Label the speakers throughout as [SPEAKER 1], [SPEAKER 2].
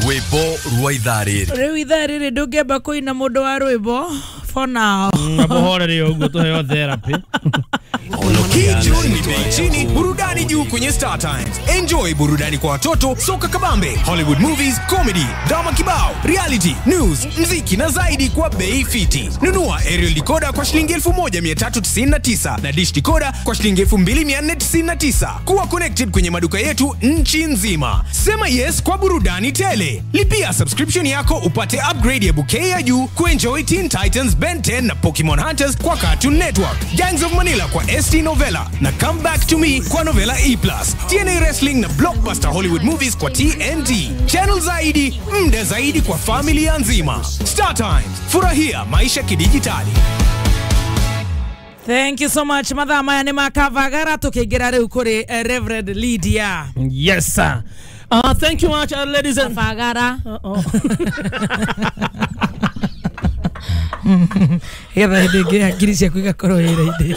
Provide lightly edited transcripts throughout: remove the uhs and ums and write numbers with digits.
[SPEAKER 1] Rwĩmbo rwa ithaa rĩrĩ.
[SPEAKER 2] Rĩu ithaa rĩrĩ ndũngĩamba kũina mũndũ wa rwĩmbo for now.
[SPEAKER 3] Ngamuhorere ũguo tũheo therapy.
[SPEAKER 4] Hii ni bei chini, burudani juu kwenye Star Times. Enjoy burudani kwa watoto, soka kabambe, Hollywood movies, comedy, drama kibao, reality, news, mziki na zaidi kwa bei fiti. Nunua aerial decoder kwa shilingi 1399 na dish decoder kwa shilingi 2499. Kuwa connected kwenye maduka yetu nchi nzima. Sema yes kwa burudani tele. Lipia subscription yako upate upgrade ya bouquet ya juu kuenjoy Teen Titans, Ben 10 na Pokemon Hunters kwa Cartoon Network, Gangs of Manila kwa ST Novella na Come Back to Me kwa Novella E+, TNA Wrestling na Blockbuster Hollywood Movies kwa TNT. Channel zaidi, mda zaidi kwa familia nzima. Star Times, furahia maisha kidijitali.
[SPEAKER 2] Thank you so much. Mathaa maya nĩ makavagara tũkĩingĩra rĩu kũrĩ Reverend Lydia.
[SPEAKER 3] Yes sir. Thank you much, ladies and
[SPEAKER 2] Kavagara. Getha hĩndĩ ĩngĩ hakiri ciaku igakorwo wĩra-inĩ.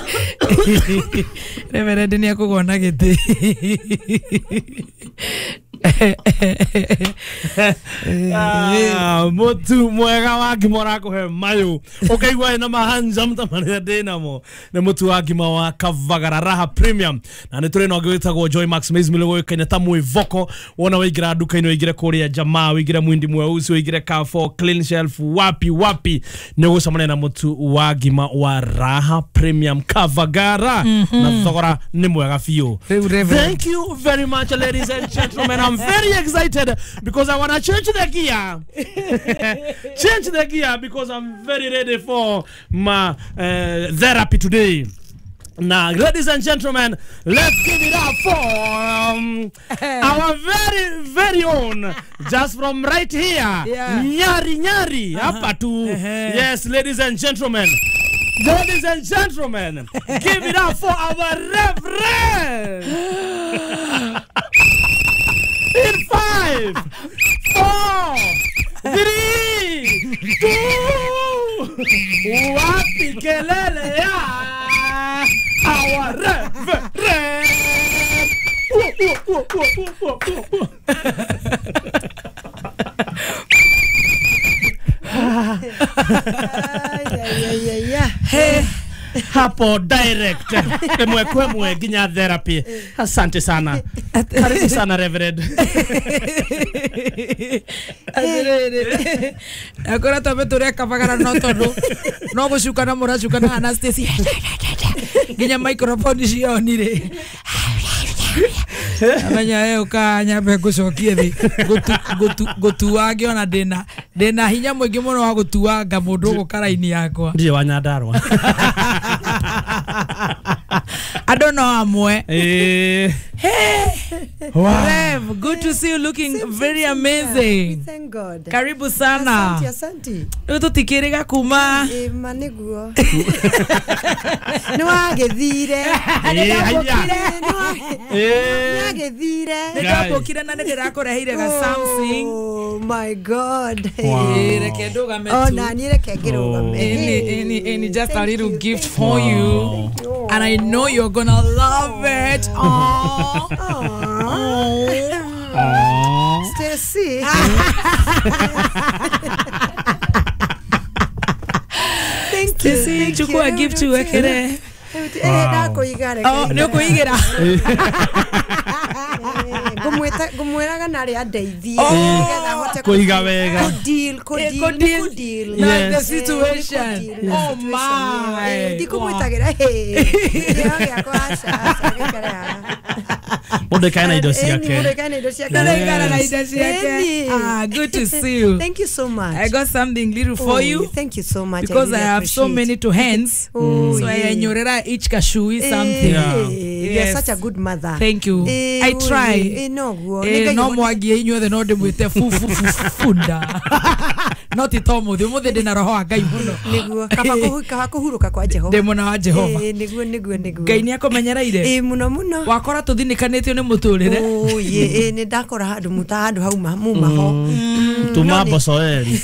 [SPEAKER 2] Reverend nĩ akũgwa na gĩtĩ.
[SPEAKER 3] Mutu mwega wa ngima ũrakũhe mayũ ũkaigua wĩna mahanjam ta marĩa ndĩ namo nĩ mũtu wa ngima wa Kavagara Raha Premium na nĩ tũrĩ na ũngĩ wĩtagwo Joy Max Maize Meal ũĩkaine ta mwĩvoko. Wona waingĩra nduka-inĩ ũingĩre kũrĩa jamaa ũingĩre Mwindi Mweusi ũingĩre Carrefour, Clean Shelf, wapi wapi nĩ ũgũcemania na mũtu wa ngima wa Raha Premium Kavagara na thogora nĩ mwega biũ. Thank you very much, ladies and gentlemen. I'm very excited because I want to change the gear. Change the gear because I'm very ready for my therapy today. Now, ladies and gentlemen, let's give it up for our very, very own, just from right here, yeah. Nyari Nyari, hapa tu. Yes, ladies and gentlemen. Ladies and gentlemen, give it up for our Reverend. In 5, 4, 3, 2, wapi kelele ya our Reverend. Hey. Hapo direct emwe kwemwe nginya therapy. Asante sana. Karibu sana Reverend.
[SPEAKER 2] Atiriri akora twambe tũrĩa Kavagara no tondũ no gũcukana mũracukana Anastasia nginya microphone cionire. Amenya we ũkanyambe ngũcokie thĩ ngũtuange ona ndĩna hinya mũingĩ mũno wa gũtuanga mũndũ ũgũka raini yakwa.
[SPEAKER 3] Ndirĩ wa Nyandarua.
[SPEAKER 2] Andũ no amwe. Hey,
[SPEAKER 3] wow.
[SPEAKER 2] Rev, good to see you looking very amazing.
[SPEAKER 5] We thank God.
[SPEAKER 2] Karibu sana.
[SPEAKER 5] Asante, asante.
[SPEAKER 2] Rĩu tũtikĩrĩga kuma.
[SPEAKER 5] Ma nĩguo. Nĩ wagĩthire. Nĩ wagĩthire.
[SPEAKER 2] Nĩ ndambũkire na nĩ ndĩrakũreheire ga something.
[SPEAKER 5] Oh my God.
[SPEAKER 2] Reke ndũgame tu.
[SPEAKER 5] Oh, na niĩ reke ngĩrũgame.
[SPEAKER 2] Any just a little gift for you. And I know you're gonna love it. Aww.
[SPEAKER 5] Aww. Stacy. Thank you.
[SPEAKER 2] Stacy, chukua gift uwekere.
[SPEAKER 5] Ndakuiga.
[SPEAKER 2] Oh, nĩ ũkũigĩra.
[SPEAKER 5] Ngũmwĩraga narĩ andeithie nĩgetha hote
[SPEAKER 3] kũiga wega.
[SPEAKER 5] Kũ-deal.
[SPEAKER 2] The situation. Oh my.
[SPEAKER 5] Ndikũmwĩtagĩra kĩheo gĩakwa aca gĩikare haha.
[SPEAKER 3] Mũndũ aikare na indo ciake.
[SPEAKER 5] Mũndũ aikare na indo ciake.
[SPEAKER 2] Mũndũ aikare na indo ciake. Ah, good to see you.
[SPEAKER 5] Thank you so much.
[SPEAKER 2] I got something little for you.
[SPEAKER 5] Thank you so much.
[SPEAKER 2] Because I have so many to hands. So I nyorera each kashui something.
[SPEAKER 3] Yeah.
[SPEAKER 5] You're such a good mother.
[SPEAKER 2] Thank you. I try.
[SPEAKER 5] No
[SPEAKER 2] no mwagie inyuothe no ndĩmwĩte funda. No ti to mũthĩ ũmũthĩ ndĩna roho wa Ngai mũno.
[SPEAKER 5] Nĩguo kaba kũhurũka kwa Jehova.
[SPEAKER 2] Ndĩ mwena wa Jehova.
[SPEAKER 5] Nĩguo nĩguo nĩguo.
[SPEAKER 2] Ngai nĩ akũmenyereire.
[SPEAKER 5] Mũno mũno.
[SPEAKER 2] Wakora tũthinĩkanĩtio nĩ mũtũrĩre.
[SPEAKER 5] Oh ye nĩ ndakora handũ mũta handũ hauma muma ho.
[SPEAKER 3] Tuma Bocoeri.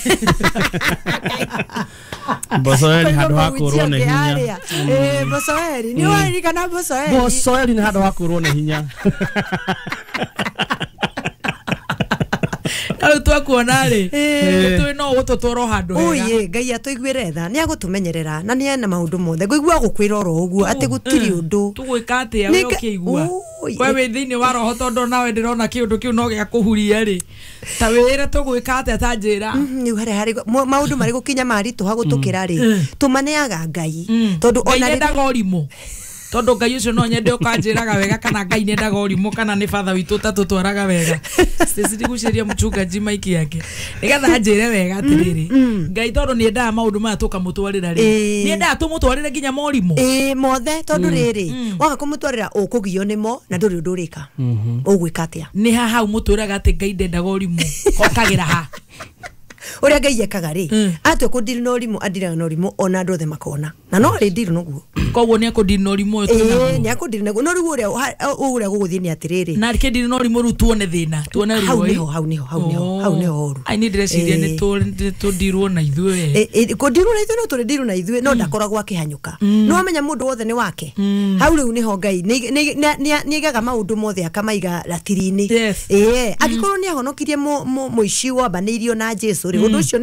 [SPEAKER 3] Bocoeri handũ ha kũrwo nĩ hinya.
[SPEAKER 5] Bocoeri nĩ waririkana Bocoeri.
[SPEAKER 3] Bocoeri nĩ handũ ha kũrwo nĩ hinya.
[SPEAKER 2] Rĩu twakuona rĩ tũĩ no ũgũtũtwara handũ hega.
[SPEAKER 5] Oye Ngai atũiguĩre tha nĩ agũtũmenyerera na nĩ ena maũndũ mothe ngũigua gũkwĩra oro ũguo atĩ gũtirĩ ũndũ.
[SPEAKER 2] Tũgwĩka atĩa we ũkĩigua we wĩ thĩinĩ wa roho tondũ nawe ndĩrona kĩũndũ kĩu no gĩa kũhuria rĩ ta wĩre tũgwĩka atĩa ta njĩra.
[SPEAKER 5] Rĩu harĩa harĩ maũndũ marĩ gũkinya maritũha gũtũkĩra rĩ tũmaneaga Ngai tondũ
[SPEAKER 2] ona ndendaga ũrimũ tondũ Ngai ũcio no nyende ũkanjĩraga wega kana Ngai ndendaga ũrimũ kana nĩ batha witũ ũtatũtwaraga wega. Stacy ndigucĩria mchungaji maiki yake nĩgetha anjĩre wega atĩrĩrĩ Ngai tondũ nĩendaga maũndũ maya tũkamũtwarĩra rĩ nĩendaga tũmũtwarĩre nginya morimũ
[SPEAKER 5] mothe tondũ rĩrĩ waga kũmũtwarĩra ũkũgio nĩmo na ndũrĩ ũndũ ũrĩka ũgwĩka atĩa.
[SPEAKER 2] Nĩ ha hau mũtwĩraga atĩ Ngai ndendaga ũrimũ hokagĩra ha
[SPEAKER 5] ũrĩa Ngai ekaga rĩ atue kũndiri na ũrimũ andiraga na ũrimũ ona andũ othe makona na no rĩ ndiri noguo
[SPEAKER 2] koguo nĩ akũndiri na ũrimũ ũyũ
[SPEAKER 5] nĩ akũndiri naguo no rĩu ũrĩa gũgũthiĩ nĩ atĩrĩrĩ
[SPEAKER 2] na kĩndiri na ũrimũ rĩu tuone thĩna tuone ruo
[SPEAKER 5] hau nĩho hau nĩho hau nĩho horu.
[SPEAKER 2] Ai niĩ ndĩreciria nĩ tũndirwo na ithuĩ
[SPEAKER 5] kũndirwo na ithuĩ no tũrĩ na ithuĩ no ndakoragwo akĩhanyũka no amenya mũndũ wothe nĩ wake hau rĩu nĩho Ngai nĩaigaga maũndũ mothe akamaiga ratiri-inĩ angĩkorwo nĩ ahonokirie mũici wambanĩirio na Jesu rĩ ũndũ ũcio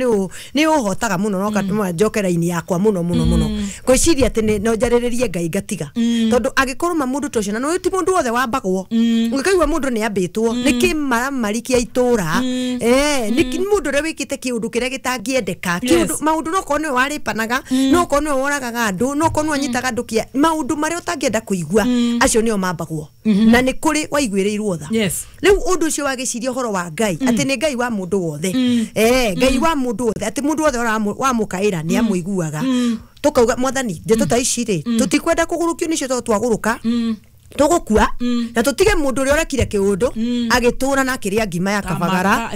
[SPEAKER 5] nĩ ũhotaga mũno no gatũma njoke raini yakwa mũno mũno mũno ngwĩciria atĩ no njarĩrĩrie Ngai ngatiga tondũ angĩkorwo ma mũndũ ta ũcio na no ti mũndũ wothe wambagwo ũngĩkaigua mũndũ nĩ ambĩtwo nĩ kĩmaramari kĩa itũra nĩ mũndũ ũrĩa wĩkĩte kĩũndũ kĩrĩa gĩtangĩendeka kĩũndũ maũndũ no korwo nĩwe warĩpanaga no korwo nĩwe woragaga andũ no korwo nĩwe anyitaga andũ kĩa maũndũ marĩa ũtangĩenda kũigua acio nĩo mambagwo na nĩ kũrĩ waiguĩrĩirwo tha. Rĩu ũndũ ũcio wagĩciria ũhoro wa Ngai atĩ nĩ Ngai wa mũndũ wothe Ngai wa mũndũ wothe atĩ mũndũ wothe wamũkaĩra nĩ amũiguaga tukauga mwathani ndeto ta ici rĩ tũtikwenda kũgũrũkio nĩcio tondũ twagũrũka tũgũkua na tũtige mũndũ ũrĩa ũrekire kĩũndũ agĩtũra na akĩrĩa ngima ya kabagara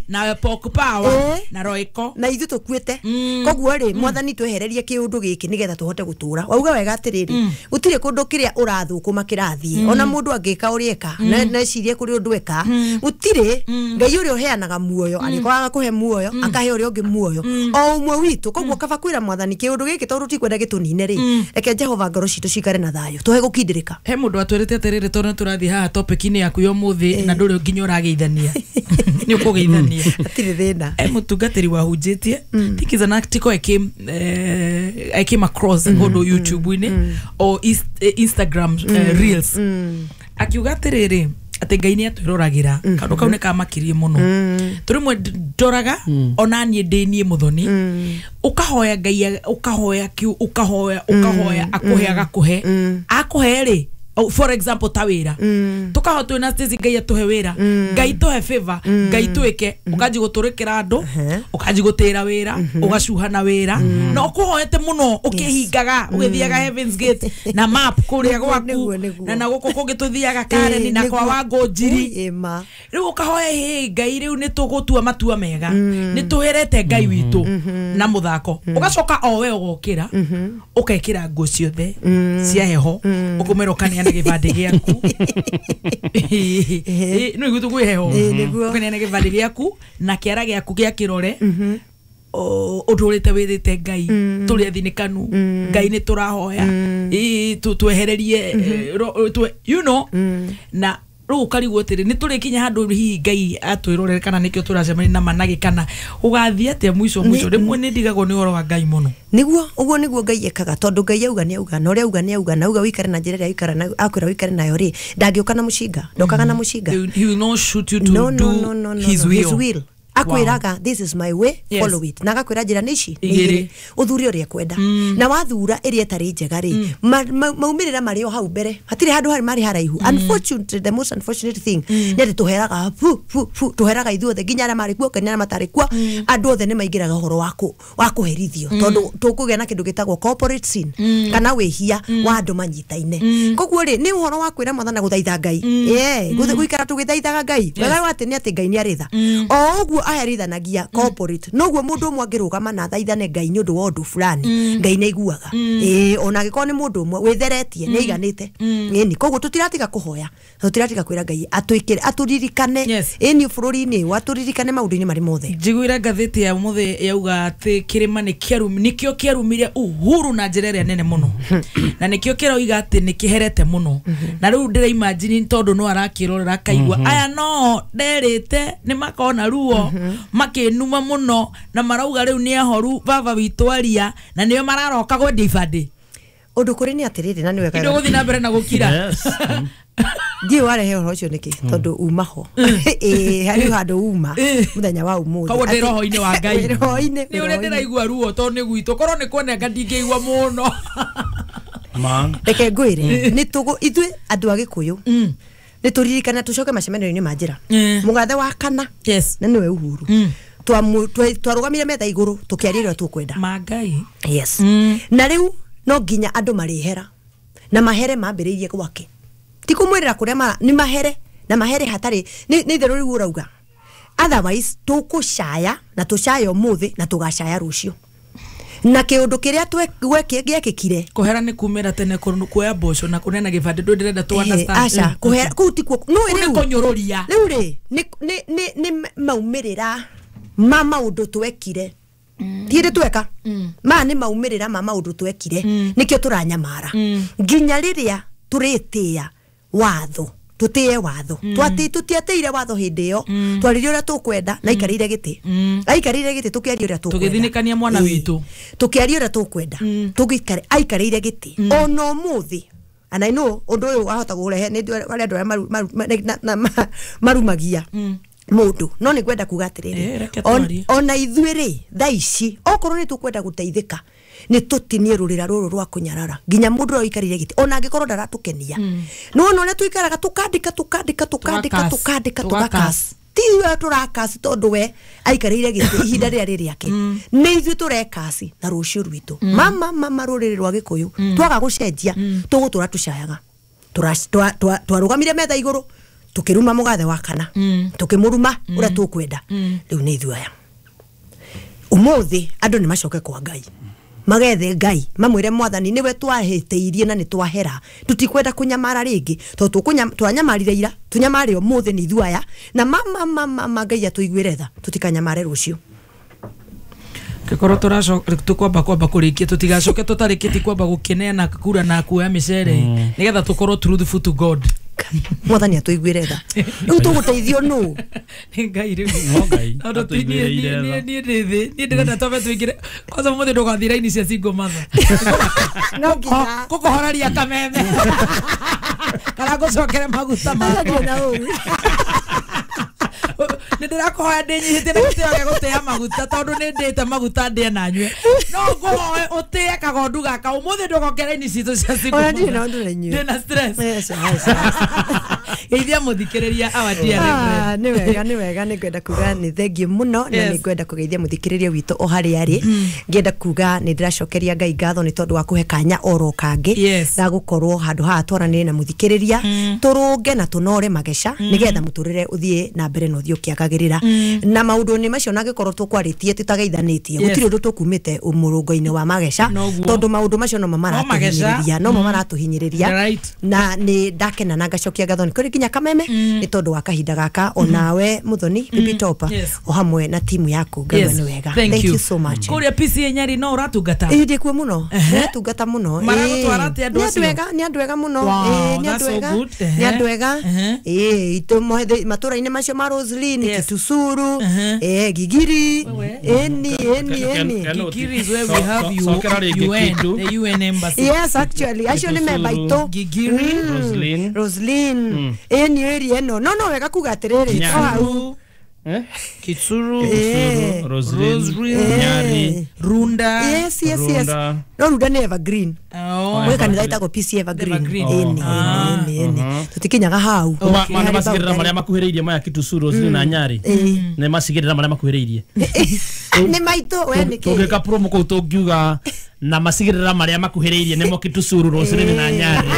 [SPEAKER 2] na pork power na roiko
[SPEAKER 5] na ithuĩ tũkuĩte koguo rĩ mwathani twehererie kĩũndũ gĩkĩ nĩgetha tũhote gũtũra wauga wega atĩrĩrĩ gũtirĩ kũndũ kĩrĩa ũrathũkũma kĩrathiĩ ona mũndũ angĩka ũrĩa eka necirie kũrĩ ũndũ eka gũtirĩ Ngai ũrĩa ũheanaga muoyo angĩkorwo agakũhe muoyo akahe ũrĩa ũngĩ muoyo o ũmwe witũ koguo kaba kwĩra mwathani kĩũndũ gĩkĩ tondũ tikwenda gĩtũnine rĩ reke Jehova ngoro citũ cikare na thayũ tũhe gũkindĩrĩka.
[SPEAKER 2] He mũndũ atwĩrĩte atĩrĩrĩ tondũ nĩtũrathiĩ haha topic-inĩ yaku ya ũmũthĩ na ndũrĩ nginya ũrageithania nĩ ũkũgeithania
[SPEAKER 5] hatirĩ thĩna.
[SPEAKER 2] Mũtungatĩri wahunjĩtie think is an article I came across kũndũ YouTube-inĩ or Instagram reels akiuga atĩrĩrĩ atĩ Ngai nĩ atwĩroragĩra kaũndũ kau nĩ kamakirie mũno tũrĩmwe ndoraga ona niĩ ndĩ niĩ mũthoni ũkahoya Ngai ũkahoya kiu ũkahoya ũkahoya akũhe agakũhe akũhe rĩ for example ta wĩra tukaho twĩna Stacy Ngai atũhe wĩra Ngai tũhe favor Ngai twĩke ũkanji gũtũrĩkĩra andũ ũkanji gũtĩra wĩra ũgacuha na wĩra na ũkũhoete mũno ũkĩhingaga ũgĩthiaga Heaven's Gate na map kũrĩa gwaku na gũkũ kũngĩ tũthiaga Karen na kwa Wangũnjiri rĩu ũkahoya hĩ Ngai rĩu nĩ tũgũtua matua mega nĩ tũherete Ngai witũ na mũthako ũgacoka o we ũgokĩra ũkekĩra nguo ciothe cia heho ũkũmera ũkaneana gĩbandĩ gĩaku no iguo tũkwĩ heho ũkaneana gĩbandĩ gĩaku na kĩara gĩaku gĩa kĩrore ũtũrĩte wĩrĩte Ngai tũrĩ athinĩkanu Ngai nĩ tũrahoya twehererie you know na rĩu ũkarigwo atĩrĩ nĩ tũrĩkinya handũ hihi Ngai atwĩrorere kana nĩkĩo tũracemania na managĩ kana ũgathiĩ atĩa mũico mũico rĩmwe nĩ ndigagwo nĩ ũhoro wa Ngai mũno.
[SPEAKER 5] Nĩguo ũguo nĩguo Ngai ekaga tondũ Ngai auga nĩ auga na ũrĩa auga nĩ auga na auga wĩikare na njĩra ĩrĩa wĩikara nayo akwĩra wĩikare nayo rĩ ndangĩũka na mũcinga ndokaga na mũcinga.
[SPEAKER 2] He will not shoot you to do his will.
[SPEAKER 5] Akwĩraga this is my way follow it na agakwĩra njĩra nĩ ici nĩ igĩrĩ ũthure ũrĩa kwenda na wathura ĩrĩa ĩtarĩ njega rĩ maumĩrĩra marĩ o hau mbere hatirĩ handũ harĩ marĩ haraihu. Unfortunately the most unfortunate thing nĩ atĩ tũheraga fu fu fu tũheraga ithuothe nginya arĩa marĩ kuo nginya arĩa matarĩ kuo andũ othe nĩ maingĩraga ũhoro wa kũherithio tondũ tũkũgĩa na kĩndũ gĩtagwo corporate sin kana wĩhia wa andũ manyitaine koguo rĩ nĩ ũhoro wa kwĩra mwathani gũthaitha Ngai gũikara tũgĩthaithaga Ngai wega wa atĩ nĩ atĩ Ngai nĩ arĩ tha o ũguo aherithanagia corporate noguo mundu umwe angirugama na thaithane Ngai ni undu wa undu fulani Ngai nĩ aiguaga ona angĩkorwo nĩ mundu umwe witheretie nĩ aiganĩte ĩni koguo tutiratiga kuhoya tutiratiga kwira Ngai atwikire aturirikane ĩni bũrũri-inĩ waturirikane maũndũ-inĩ marĩ mothe.
[SPEAKER 2] Njiguire ngathĩti ya ũmũthĩ yauga atĩ kĩrĩma nĩkĩo kĩarumire Uhuru na njĩra ĩrĩa nene mũno na nĩkĩo kĩroiga atĩ nĩkĩherete mũno na rĩu ndĩra imagine tondũ no arakĩrorera akaigua aya no nderĩte nĩ makona ruo makĩnuma mũno na marauga rĩu nĩ ahoru baba witũ aria na nĩo mararoka gwendia ibandĩ.
[SPEAKER 5] Ũndũ kũrĩ nĩ atĩrĩrĩ na nĩ wega
[SPEAKER 2] indo gũthiĩ na mbere na gũkira.
[SPEAKER 5] Ndiũ warehe ũhoro ũcio nĩkĩ tondũ uma ho harĩ handũ uma mũthenya wa ũmũthĩ
[SPEAKER 2] koguo ndĩ roho-inĩ wa Ngai
[SPEAKER 5] roho-inĩ
[SPEAKER 2] nĩ ũrĩa ndĩraigua ruo tondũ nĩ gwitũ korwo nĩ kuoneka ndingĩigua mũno.
[SPEAKER 5] Reke ngwĩre nĩ tũgũ ithuĩ andũ a Gĩkũyũ nĩ tũririkane tũcoke macemanio-inĩ ma njĩra mũgathe wa kana na nĩwe Uhuru twarũgamire metha igũrũ tũkĩaria ũrĩa tũkwenda
[SPEAKER 2] ma Ngai.
[SPEAKER 5] Yes. Na rĩu no nginya andũ marĩhera na mahere mambĩrĩirie gwake ti kũmwĩrĩra kũrĩa mara nĩ mahere na mahere hatarĩ nĩ itherũ rĩu ũrauga otherwise tũkũcaya na tũcaya ũmũthĩ na tũgacaya rũciũ na kĩũndũ kĩrĩa gwekĩkire
[SPEAKER 2] kũhera nĩ kumĩra tene kuoya mboco na kũneana gĩbandĩ ndũ ndĩrenda tũ understand
[SPEAKER 5] aca kũhera kũu tikuo no
[SPEAKER 2] rĩu kũnyũrũria
[SPEAKER 5] rĩu rĩ nĩ maumĩrĩra ma maũndũ twekire ti hĩndĩ tweka maya nĩ maumĩrĩra ma maũndũ twekire nĩkĩo tũranyamara nginya rĩrĩa tũrĩtĩĩa watho tutĩe watho tũtiatĩire watho hĩndĩ ĩyo twaririe ũrĩa tũkwenda na aikarĩire gĩtĩ aikarĩire gĩtĩ tũkĩaria ũrĩa tũkwenda
[SPEAKER 2] tũgĩthinĩkania mwana witũ
[SPEAKER 5] tũkĩaria ũrĩa tũkwenda tũgĩikare aikarĩire gĩtĩ ona ũmũthĩ and I know ũndũ ũyũ wahota kũrehe nĩ arĩa andũ arĩa marumagia mũndũ no nĩ ngwenda kuga atĩrĩrĩ ona ithuĩ rĩ thaa ici okorwo nĩ tũkwenda gũteithĩka nĩ tũtinie rũrĩra rũrũ rwa kũnyarara nginya mũndũ ũrĩa ũikarĩire gĩtĩ ona angĩkorwo ndaratũkenia nĩ wona ũrĩa tũikaraga tũkandĩka tũkandĩka tũkandĩka tũkandĩka tũgakasi ti we tũrakasi tondũ we aikarĩire gĩtĩ ihinda rĩrĩa rĩ rĩake nĩ ithuĩ tũrekasi na rũciũ rwitũ mama rũrĩrĩ rwa Gĩkũyũ twaga gũcenjia tũgũtũra tũcayaga twarũgamire metha igũrũ tukiruma mugathe wa kana tukimuruma uria tukwenda riu ni ithuĩ aya umuthi andu ni macoke kwa Ngai magethe Ngai mamwire mwathani niwe twahĩtĩirie na nĩ twahera tutikwenda kunyamara rĩngĩ tondũ twanyamarire ira tunyamare umuthi ni ithuĩ aya na mama Ngai atũiguĩre tha tutikanyamare rũciũ.
[SPEAKER 2] Kikorwo tũracoka tũkwamba kwamba kũrĩkia tũtigacoke tũtarĩkĩtie kwamba gũkĩneana kura na kuoya mĩcere nĩgetha tũkorwo truthful to God.
[SPEAKER 5] Mwathani atũiguĩre tha rĩu tũgũteithio nũ
[SPEAKER 2] nĩ Ngai rĩu no Ngai tondũ niĩ ndĩ thĩ niĩ ndĩrenda twambe tũingĩre kwanza mũthĩ ndũgathiĩ raini cia single mother
[SPEAKER 5] no nginya
[SPEAKER 2] ngũkũhoreria kameme kana ngũcokere maguta makwa nĩ ndĩrakũhoya ndĩnyihĩtie na gĩtĩo gĩa gũtĩa maguta tondũ nĩ ndĩte maguta ndĩe na nyue no ngũhoe ũtĩe kagondu gaka ũmũthĩ ndũgoke raini citũ cia single
[SPEAKER 5] ona ndirĩ na ũndũ na inyuĩ
[SPEAKER 2] ndĩna stress geithia mũthikĩrĩria our dear Reverend.
[SPEAKER 5] Nĩ wega nĩ wega nĩ ngwenda kuga nĩ thengiũ mũno na nĩ ngwenda kũgeithia mũthikĩrĩria witũ o harĩa arĩ ngĩenda kuga nĩ ndĩracokeria Ngai ngatho nĩ tondũ wa kũhe kanya oro kangĩ ga gũkorwo handũ haha twaranĩrie na mũthikĩrĩria tũrũnge na tũnore mageca nĩgetha mũtũrĩre ũthiĩ na mbere na ũthiĩ ũkĩagagĩrĩra na maũndũ-inĩ macio na angĩkorwo tũkwarĩtie tũtageithanĩtie gũtirĩ ũndũ tũkumĩte mũrũngo-inĩ wa mageca tondũ maũndũ macio nomo maratũhinyĩrĩria nomo maratũhinyĩrĩria na nĩ ndakena na ngacokia ngatho nĩ kũrĩ nginya kameme nĩ tondũ wa kahinda gaka onawe Muthoni Baby Topper o hamwe na timu yaku Ngai nĩ wega. Thank you so much.
[SPEAKER 2] Kũrĩa PCA Nyeri no ũratungata?
[SPEAKER 5] Ĩĩ ndĩkuo mũno ndĩratungata mũno
[SPEAKER 2] maragũtwara atĩa andũ acio?
[SPEAKER 5] Nĩ andũ ega mũno nĩ andũ ega nĩ andũ ega ĩĩ matũra-inĩ macio ma Roslyn Kitusuru Gigiri eni
[SPEAKER 2] Gigiri is where we have you UN, the UN embassy.
[SPEAKER 5] Yes, actually acio nĩ memba itũ
[SPEAKER 2] Gigiri
[SPEAKER 5] Roslyn eni area ĩno no wega kuga atĩrĩrĩ hau
[SPEAKER 2] Kitsuru,
[SPEAKER 3] Roslyn, Nyari,
[SPEAKER 2] Runda.
[SPEAKER 5] Yes. No Runda nĩ Evergreen. Gwĩ kanitha ĩtagwo PC Evergreen. Ĩni. Tũtikinyaga hau.
[SPEAKER 3] Mana macigĩrĩra marĩa makuhĩrĩirie maya Kitusuru, Roslyn na Nyari. Nĩ macigĩrĩra marĩa makuhĩrĩirie.
[SPEAKER 5] Nĩ maitũ we nĩkĩ?
[SPEAKER 3] Tũngĩka promo kũu tũngiuga na macigĩrĩra marĩa makuhĩrĩirie nĩmo Kitusuru, Roslyn na Nyari.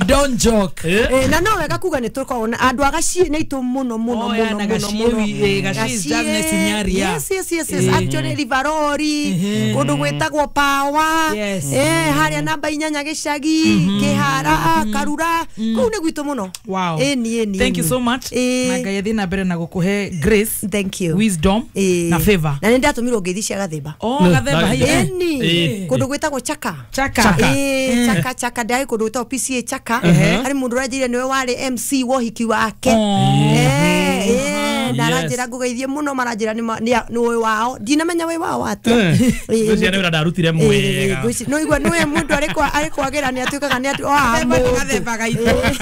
[SPEAKER 2] don't joke.
[SPEAKER 5] Na no wega kuga nĩ tũkoragwo na andũ a Gachie nĩ aitũ mũno mũno mũno mũno mũno.
[SPEAKER 2] Gachie is just next to Nyari.
[SPEAKER 5] Yes, yes, yes, yes. Actually Rivarori, kũndũ gwĩtagwo Pawa, harĩa namba 8 gĩcagi, Kĩhara, Karura, kũu nĩ gwitũ mũno.
[SPEAKER 2] Wow. Thank you so much. Na Ngai athiĩ na mbere na gũkũhe grace.
[SPEAKER 5] Thank you.
[SPEAKER 2] Wisdom na favor.
[SPEAKER 5] Na nĩ ndatũmirwo ngeithi cia Gathemba.
[SPEAKER 2] Oh, Gathemba haiya.
[SPEAKER 5] Kũndũ gwĩtagwo Chaka.
[SPEAKER 2] Chaka.
[SPEAKER 5] Chaka Chaka ndai kũndũ gwĩtagwo PCA Chaka. Harĩ mũndũ ũranjĩrire nĩwe warĩ MC wa ũhiki wake. Na aranjĩra ngũgeithie mũno, maranjĩra nĩ wĩ wao. Ndinamenya wĩ wao atĩa.
[SPEAKER 3] Ngwĩciria nĩ wĩra ndarutire mwega.
[SPEAKER 5] No igua nĩwe mũndũ arĩ kwagĩra nĩ atuĩkaga nĩ wa mũndũ.
[SPEAKER 2] Gathemba gaitũ.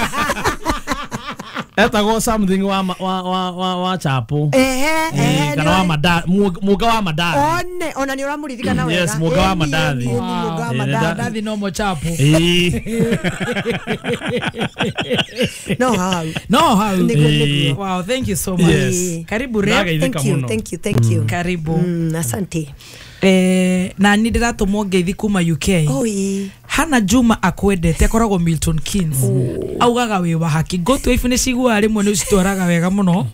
[SPEAKER 3] Etagwo something wa chapo. Kana wa madathi, muga wa madathi.
[SPEAKER 5] One, ona nĩ ũramũririkana wega.
[SPEAKER 3] Yes, muga wa madathi.
[SPEAKER 5] Muga wa madathi
[SPEAKER 2] no mo chapo.
[SPEAKER 5] No how.
[SPEAKER 2] No how. Wow, thank you so much.
[SPEAKER 3] Yes.
[SPEAKER 2] Karibu Rev.
[SPEAKER 5] Thank you, thank you, thank you.
[SPEAKER 2] Karibu.
[SPEAKER 5] Asante.
[SPEAKER 2] Na nĩ ndĩratũmwo ngeithi kuma UK. Hana Juma akwendete akoragwo Milton Keynes. Augaga wĩ wa haki. Go to ifu nĩ ciguaga rĩmwe nĩ ũcitwaraga wega mũno.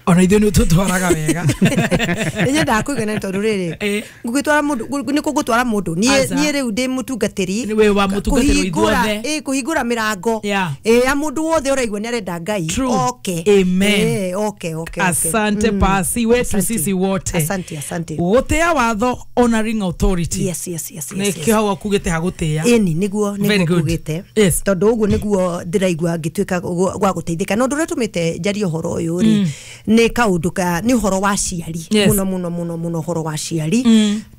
[SPEAKER 2] Ona ithuĩ nĩ ũtũtwaraga wega.
[SPEAKER 5] Nĩ nyendaga kũigana tondũ rĩrĩ ngũgĩtwara mũndũ nĩ kũgũtwara mũndũ niĩ rĩu ndĩ mũtungatĩri.
[SPEAKER 2] Wĩ wa mũtungatĩri ithuothe.
[SPEAKER 5] Kũhingũra mĩrango ya mũndũ wothe ũraigua nĩ arenda Ngai. Okay.
[SPEAKER 2] Amen.
[SPEAKER 5] Okay, okay.
[SPEAKER 2] Asante pasi wetu sisi wote.
[SPEAKER 5] Asante, asante.
[SPEAKER 2] Gũtĩa watho, honoring authority.
[SPEAKER 5] Yes, yes, yes, yes.
[SPEAKER 2] Nĩkĩo hau akugĩte hagũtĩa.
[SPEAKER 5] Ĩni nĩguo kugĩte. Tondũ ũguo nĩguo ndĩraigua ngĩtuĩka gwa gũteithĩka. Na ũndũ ũrĩa ũtũmĩte njarie ũhoro ũyũ rĩ nĩ kaũndũ ka nĩ ũhoro wa aciari mũno mũno mũno mũno ũhoro wa aciari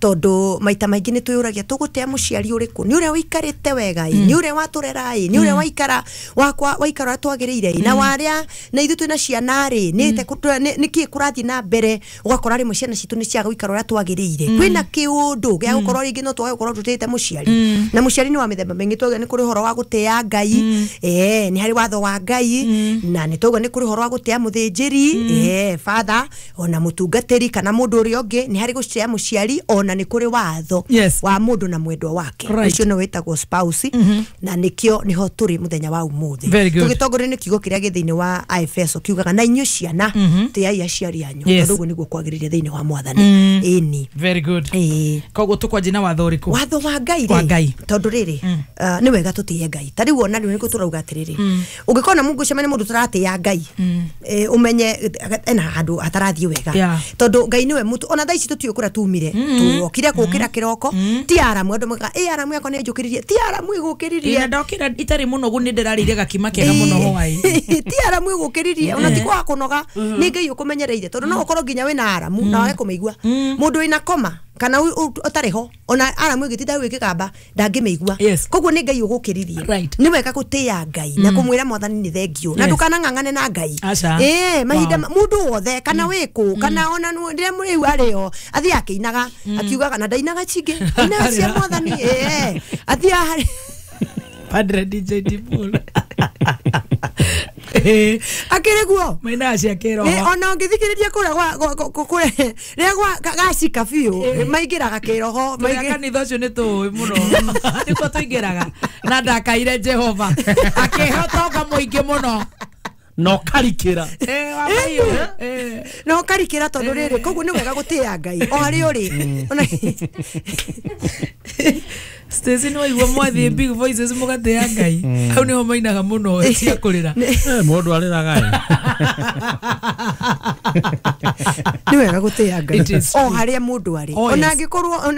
[SPEAKER 5] tondũ maita maingĩ nĩ twĩyũragia tũgũtĩa mũciari ũrĩkũ, nĩ ũrĩa ũikarĩte wega ĩ, nĩ ũrĩa watũrera ĩ, nĩ ũrĩa waikara wakwa waikara ũrĩa twagĩrĩire ĩ, na warĩa na ithuĩ twĩna ciana rĩ nĩ kĩĩ kũrathiĩ na mbere, ũgakora rĩmwe ciana citũ nĩ ciaga gũikara ũrĩa twagĩrĩire. Kwĩna kĩũndũ gĩa gũkorwo rĩngĩ no twage gũkorwo tũtĩĩte mũciari, na mũciari nĩ wa mĩthemba mĩingĩ. Twauga nĩ kũrĩ ũhoro wa gũtĩa Ngai, nĩ harĩ watho wa Ngai, na nĩ twauga nĩ kũrĩ ũhoro wa gũtĩa mũthĩnjĩri, father, ona mũtungatĩri kana mũndũ ũrĩa ũngĩ, nĩ harĩ gũtĩa mũciari, ona nĩ kũrĩ watho wa mũndũ na mwendwa wake, ũcio nĩ wĩtagwo spouse, na nĩkĩo nĩho tũrĩ mũthenya wa ũmũthĩ tũgĩtongorio nĩ kiugo kĩrĩa gĩ thĩinĩ wa Efeso kiugaga na inyuĩ ciana tĩai aciari anyu tondũ ũguo nĩguo kwagĩrĩire thĩinĩ wa Mwathani. Ĩni.
[SPEAKER 2] Very good. Koguo tũkwanjia na watho ũrĩkũ?
[SPEAKER 5] Watho wa Ngai rĩ, tondũ rĩrĩ nĩ wega tũtĩe Ngai. Ta rĩu ona rĩu nĩguo tũrauga atĩrĩrĩ, ũngĩkona mũngũcemania mũndũ tũratĩĩa Ngai, ũmenye ena handũ hatarathiĩ wega, tondũ Ngai nĩwe mũtu. Ona thaa ici tũtiũĩ kũrĩa tumire, tuokire gũkĩra kĩroko, ti aramu andũ moigaga ĩ aramu yakwa nĩ njũkĩririe, ti aramu ĩgũkĩririe.
[SPEAKER 2] Na ndokĩra itarĩ mũnogu nĩ ndĩrarĩire gakima kega mũno hwaĩ.
[SPEAKER 5] Ti aramu ĩgũkĩririe, ona ti kwaga kũnoga, nĩ Ngai ũkũmenyereire, tondũ no ũkorwo nginya wĩna aramu na wage kũmĩigua. Mũndũ wĩna koma kana ũtarĩ ho, ona aramu ĩgĩtinda ĩgĩkamba ndangĩmĩigua. Koguo nĩ Ngai ũgũkĩririe. Nĩ wega gũtĩĩa Ngai na kũmwĩra Mwathani nĩ thengio, na ndũkanang'ang'ane na Ngai. Mahinda mũndũ wothe kana wĩkũ kana ona rĩrĩa mũrĩu arĩo athiĩ akĩinaga akiugaga na ndainaga cingĩ, ainaga cia Mwathani. Athiĩ
[SPEAKER 2] Padre DJ Dipul
[SPEAKER 5] akĩrĩ guo
[SPEAKER 2] mainaga cia kĩroho.
[SPEAKER 5] Ona ũngĩthikĩrĩria kũrĩa rĩrĩa gacika biũ maingĩraga kĩroho.
[SPEAKER 2] Kanitha ũcio nĩ tũĩ mũno nĩkuo tũingĩraga, na ndakaire Jehova akĩhe ũtonga mũingĩ mũno
[SPEAKER 3] no karikira
[SPEAKER 5] no karikira tondũ rĩrĩ, koguo nĩ wega gũtĩĩa Ngai o harĩa ũrĩ.
[SPEAKER 2] Stacy no igua mwathie big voices mũgatĩĩa Ngai, hau nĩho mainaga mũno cia kũrĩra.
[SPEAKER 3] Mũndũ arĩraga
[SPEAKER 5] nĩ wega gũtĩĩa Ngai o harĩa mũndũ arĩ, ona angĩkorwo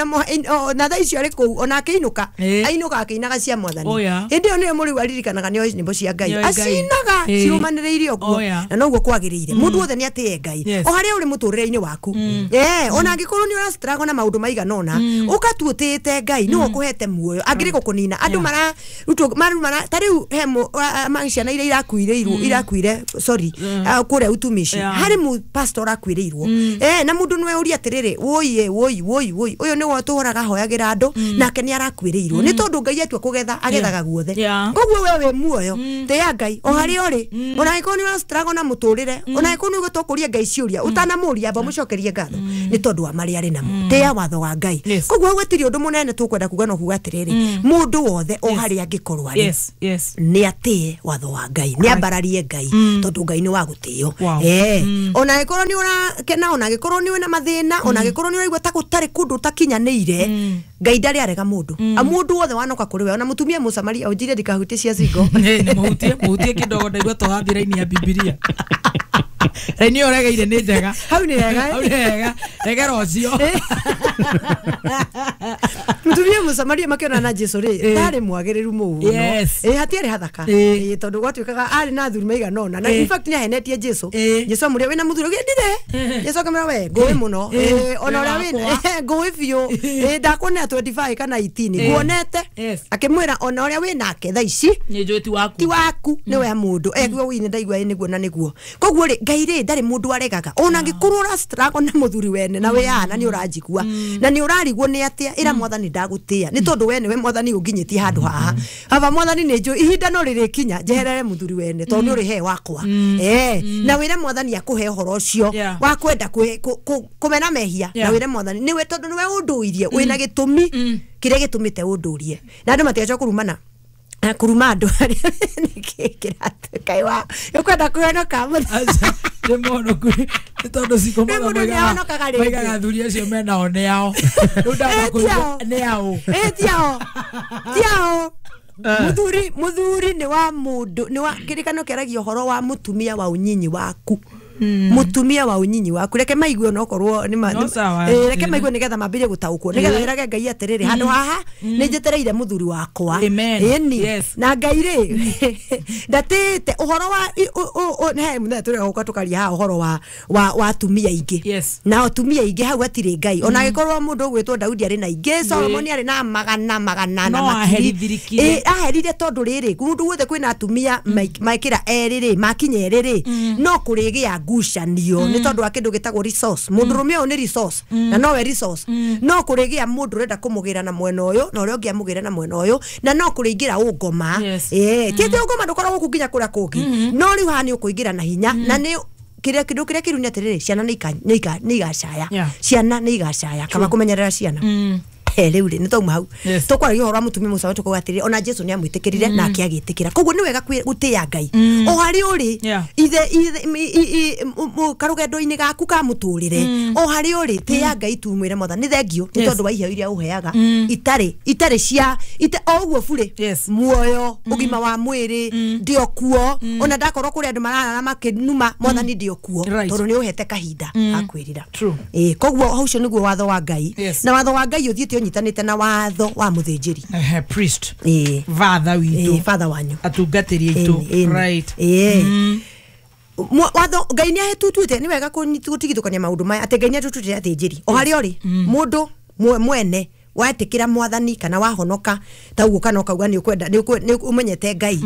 [SPEAKER 5] ona thaa icio arĩ kũu, ona akĩinũka ainũka akĩinaga cia Mwathani, hĩndĩ ĩyo nĩyo mũrĩu aririkanaga nĩoĩ nyĩmbo cia Ngai, acinaga cirũmanĩrĩire ũguo, na noguo kwagĩrĩire. Mũndũ wothe nĩ atĩe Ngai o harĩa ũrĩ mũtũrĩre-inĩ waku. Ona angĩkorwo nĩ ũrastruggle na maũndũ maigana ũna, ũkatua ũtĩĩte Ngai nĩwe ũkũhete muoyo, angĩrĩ gũkũnina andũ mara ta rĩu he ciana iria irakuire sorry kũrĩa utumishi, harĩ pastor akuĩrĩirwo Na mundu nwe uria atiriri woi woi woi woi uyu ni watuhoraga hoyagira andu nake ni arakwiriirwo ni tondu Ngai atua kugetha agethaga guothe. Koguo we we muoyo tia Ngai o hari ori ona angĩkorwo nĩ ũrastruggle na mũtũrĩre ona angĩkorwo nĩ ũgũtũkũria Ngai ciũria ũtanamũria amba mũcokerie ngatho nĩ tondũ wa marĩa arĩ namo tia watho wa Ngai. Koguo gũtirĩ ũndũ mũnene tũkwenda kuga no kuga atĩrĩrĩ mũndũ wothe o harĩa angĩkorwo arĩ nĩ atĩe watho wa Ngai nĩ ambararie Ngai tondũ Ngai nĩ wa gũtĩo. Ona angĩkorwo nĩ ũrakena ona angĩkorwo nĩ wĩna mathĩna ona angĩkorwo nĩ ũraigua ta gũtarĩ kũndũ ũtakinyanĩire Ngai ndarĩ arega mũndũ mũndũ wothe wanoka kũrĩ we ona mũtumia Mũsamaria ũnjire ndikahutie cia cigo
[SPEAKER 2] nĩ mũhutie kidogo ndaigua tũrathiĩ raini ya Bibilia raini ĩyo ũregeire nĩ njega
[SPEAKER 5] hau nĩ hega
[SPEAKER 2] hau nĩ hega regera ũcio
[SPEAKER 5] mutumia Mũsamaria makĩona na Jesu rĩ ndarĩ mwagĩrĩru mũno hatiarĩ hathaka tondũ gwatuĩkaga arĩ na athuri maigana ũna na in fact nĩ ahenetie Jesu. Jesu amũria wĩna mũthuri ũngĩ ndire Jesu akamwĩra we ngũĩ mũno ona ũrĩa wĩ ngũĩ biũ ndakuonera 25 kana 18 nguonete akĩmwĩra ona ũrĩa wĩ nake thaa ici
[SPEAKER 2] nĩ njũĩ ti waku
[SPEAKER 5] ti waku nĩ we mũndũ ekuo wĩ ndaigua nĩguo na nĩguo. Koguo rĩ Ngai rĩ ndarĩ mũndũ aregaga ona angĩkorwo ũra struggle na mũthuri wene na wĩ ana nĩ ũranjigua na nĩ ũrarigwo nĩ atĩa ĩra mwathani ndagũtĩa nĩ tondũ we nĩwe mwathani ũnginyĩtie handũ haha aba mwathani nĩ njũĩ ihinda no rĩrĩkinya njeherere mũthuri wene tondũ nĩ ũrĩhe wakwa na wĩre mwathani akũhe ũhoro ũcio wa kwenda kũmena mehia na wĩre mwathani nĩwe tondũ nĩwe ũndũirie wĩna gĩtũmi kĩrĩa gĩtũmĩte ũndũrie na andũ matigacoka kũrumana kuruma andu aria niki kiratuka wa ukwenda kuhonoka
[SPEAKER 2] nĩ mũhonoku nĩ tondũ ciko maigaga athuri acio menao nĩ ao rĩu ndamba kũigua nĩ ao
[SPEAKER 5] ti ao ti ao muthuri nĩ wa mũndũ nĩ wa kĩrĩkano kĩaragia ũhoro wa mũtumia wa ũnyinyi waku mutumia wa unyinyi waku reke maigue no korwo ni reke maigue nigetha mambirie gutaukwo nigetha wirage Ngai atiriri handu haha ni njetereire muthuri wakwa eni na Ngai ri ndatite uhoro wa he muthenya turi guka tukaria ha uhoro wa atumia ingi na atumia ingi hau atiri Ngai ona gikorwo mundu ugwitwo Daudi ari na ingi Solomoni ari na magana magana na makiri aherire tondu riri mundu wothe kwina atumia maikira eri ri makinya eri ri no kurigia ngucanio ni tondu wa kindu gitagwo resource mundu rume uyu ni resource na nowe resource no kurigia mundu urenda kumugira na mwena uyu na uria ungi amugira na mwena uyu na no kuriingira ungoma ti ati ungoma ndukoragwo ku nginya kuria kungi no riu haha ni ukuingira na hinya na ni kiria kindu kiria kiru ni atiriri ciana ni igacaya ciana ni igacaya kama kumenyerera ciana riu ri ni twauma hau tukwaragia uhoro wa mutumia Musa tukuga atiriri ona Jesu ni amwitikirire na akiagitikira koguo ni wega gutia Ngai o hari uri ithe karugendo-ini gaku ka muturire o hari uri tia Ngai tu mwire mwathani thengio ni tondu wa iheo iria uheaga itari cia o uguo bure muoyo ugima wa mwiri ndio kuo ona ndakorwo kuri andu mararara makinuma mwathani ndio kuo tondu ni uhete kahinda akwirira koguo hau ucio niguo watho wa Ngai na watho wa Ngai uthiite unyitanite na watho wa muthinjiri
[SPEAKER 2] priest father witu
[SPEAKER 5] father wanyu
[SPEAKER 2] atungatiri aitu right
[SPEAKER 5] watho Ngai ni ahetutwite ni wega gutigithukania maundu maya ati Ngai ni atutwite athinjiri o hari ori mundu mwene wetikira mwathani kana wahonoka ta uguo kana ukauga ni ukwenda ni umenyete Ngai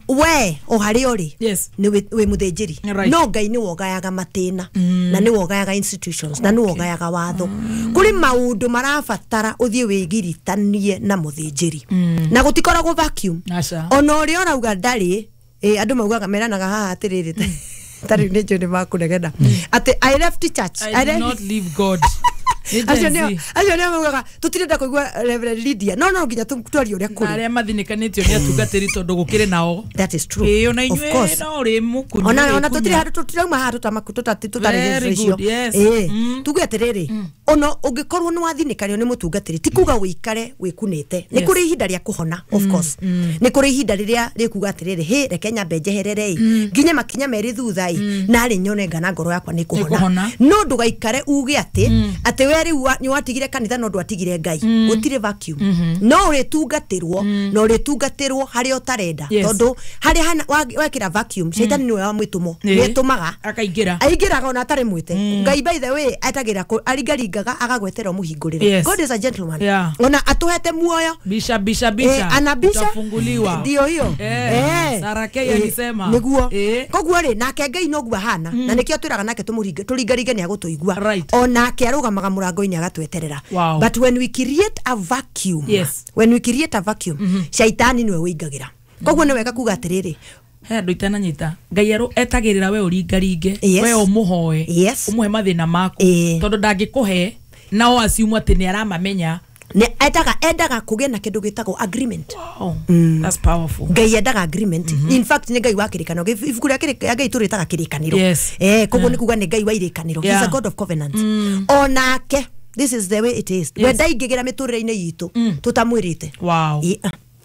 [SPEAKER 5] we o hari ori ni wi muthinjiri no Ngai ni wogayaga matina na ni wogayaga institutions na ni wogayaga watho kuri maundu marabatara uthie wigiritanie na muthinjiri na gutikoragwo vacuum ona uria urauga ndari andu maugaga meranaga haha atiriri tari ni njũ ni makunegena ati I left church
[SPEAKER 2] I did not leave God.
[SPEAKER 5] Acio nio maugaga tutirenda kuigua Reverend Lydia no no nginya twarie uria kuri
[SPEAKER 2] aria mathinikanitio ni atungatiri tondu gukiri nao.
[SPEAKER 5] That is true.
[SPEAKER 2] Ona inyue no ri mukunyu
[SPEAKER 5] ona tutiri handu tutirauma haha tutamaku icio tuge atiriri ona ungikorwo ni wathinikario ni mutungatiri ti kuga wikare wikunite ni kuri ihinda ria kuhona of course ni kuri ihinda riria rikuga atiriri he reke nyambe njeherere nginya makinya meri thutha nari nyone ngana ngoro yakwa ni kuhona no ndugaikare uge ati ati we riu ni watigire kanitha no ndwatigire Ngai gutire vacuum no uritungatirwo no uritungatirwo haria utarenda tondu haria wekira vacuum shaitani niwe wa mwitumaga
[SPEAKER 2] akaingira
[SPEAKER 5] aingiraga ona atari mwite Ngai by the way atagira aringaringaga aringaringaga agagwetera muhingurire.
[SPEAKER 2] Yes.
[SPEAKER 5] God is a gentleman.
[SPEAKER 2] Yeah.
[SPEAKER 5] Ona atuhete muoyo
[SPEAKER 2] bisha bisha bisha
[SPEAKER 5] anabisha
[SPEAKER 2] utafunguliwa
[SPEAKER 5] ndio hiyo.
[SPEAKER 2] Sarah K alisema
[SPEAKER 5] niguo koguo ri nake Ngai noguo ahana na nikio twiraga nake tumuringaringe ni agutuigua.
[SPEAKER 2] Right.
[SPEAKER 5] Onake arugamaga murango-ini agatweterera.
[SPEAKER 2] Wow.
[SPEAKER 5] But when we create a vacuum,
[SPEAKER 2] yes.
[SPEAKER 5] When we create a vacuum, shaitani niwe wĩingagĩra. Koguo nĩ wega kuga atĩrĩrĩ,
[SPEAKER 2] he andu itananyita Ngai etagĩrĩra we ũringaringe,
[SPEAKER 5] Yes.
[SPEAKER 2] we ũmũhoe,
[SPEAKER 5] Yes.
[SPEAKER 2] ũmũhe mathĩna maku, tondũ ndangĩkũhe nao assume atĩ nĩ aramamenya.
[SPEAKER 5] Nĩ endaga kũgĩa na kĩndũ gĩtagwo agreement.
[SPEAKER 2] Wow. That's powerful.
[SPEAKER 5] Ngai endaga agreement. In fact nĩ Ngai wa kĩrĩkanĩro. Ibuku rĩa Ngai tũrĩtaga kĩrĩkanĩro.
[SPEAKER 2] Yes.
[SPEAKER 5] Koguo nĩ kuga nĩ Ngai wa irĩkanĩro.
[SPEAKER 2] Yeah.
[SPEAKER 5] He's a God of covenant. Onake this is the way it is.
[SPEAKER 2] Yes.
[SPEAKER 5] We ndaingĩgĩra mĩtũrĩre-inĩ itũ tũtamwĩrĩte.
[SPEAKER 2] Wow.